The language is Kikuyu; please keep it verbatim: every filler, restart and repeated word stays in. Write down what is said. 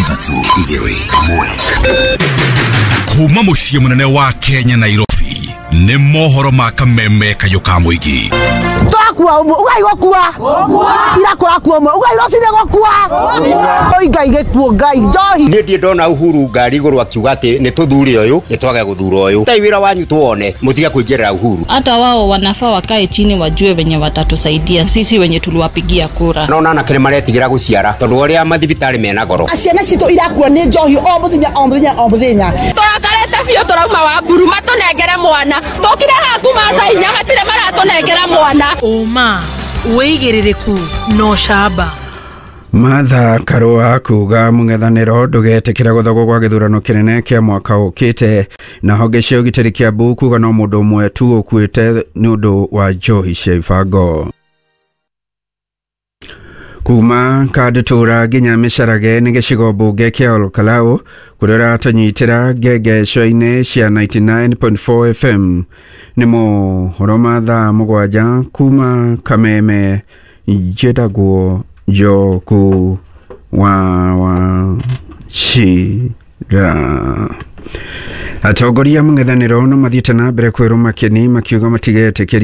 Ithatũ, igĩrĩ, ĩmwe. Kuma mũciĩ mũnene wa Kenya, Nairobi, nĩ mohoro ma kameme kayũ ka mũingĩ. Tũrakua ũmwe, ugai gũkua ira kũrakua ũmwe, ugai rũcinĩ gũkua. Oi Ngai, gĩkuũ, Ngai, njohi. Niĩ ndirĩ ndona Uhuru ngari igũrũ akiuga atĩ nĩ tũthure ũyũ, nĩ twage gũthura ũyũ. Tai wĩra wanyu tuone mũtige kũingĩrĩra Uhuru. Hata wao wanafaa wakae chini wajue venye watatusaidia sisi wenye tuliwapigia kura. Nona anake nĩ maretigĩra gũciara tondũ ũrĩa mathibitarĩ mena goro. Ciana citũ irakua nĩ njohi o mũthenya, o mũthenya, o mũthenya. Tũrakarĩte biũ, tũrauma wa mburu matũnengere mwana. Tũkire haha kuma thaa inya, matirĩ maratũnengera mwana. Ũma, wĩigĩrĩrĩku na ũcamba. Martha Karua kuga mũng'ethanĩro ndũgetĩkĩra gũthogwo gwa gĩthurano kĩnene kĩa mwaka ũkĩte. Na honge cia ũgitĩri Kiambu kuga no mũndũ ũmwe tu ũkuĩte nĩ ũndũ wa njohi cia ibango. Kuma Kandũtũra nginya Mĩcarage nĩ gĩcigo mbunge kĩa Olkalau, kũrĩa ũratũnyitĩra ngengeco-inĩ cia ninety-nine point four F M. Nĩ mohoro ma thaa mũgwanja kuma Kameme. Njĩtagwo Njoku wa Wachira. Atongoria mũng'ethanĩro no mathiĩte na mbere kwĩrwo makeni makiuga matigetĩkĩria.